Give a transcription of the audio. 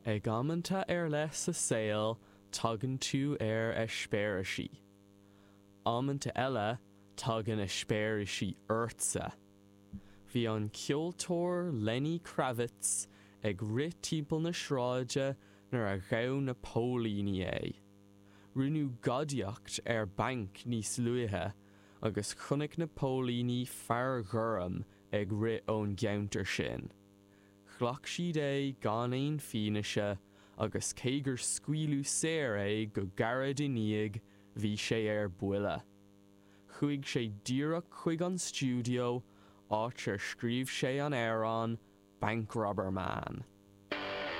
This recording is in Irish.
Ag amanta ar leith sa saol tagann tú ar eispéirisí. Amanta eile tagann eispéirisí ortsa. Bhí an ceoltóir Lenny Kravitz ag rith timpeall na sráide nuair a ghabh na póilíní é. Rinneadh gadaíocht ar banc níos luaithe agus chonaic na póilíní fear gorm ag rith ón gceantar sin. Ghlac siad é gan aon fianaise agus cé gur scaoileadh saor é go gairid i ndiaidh, bhí sé ar buile. Chuaigh sé díreach chuig an stiúideo, áit ar scríobh sé an amhrán Bank Robber Man.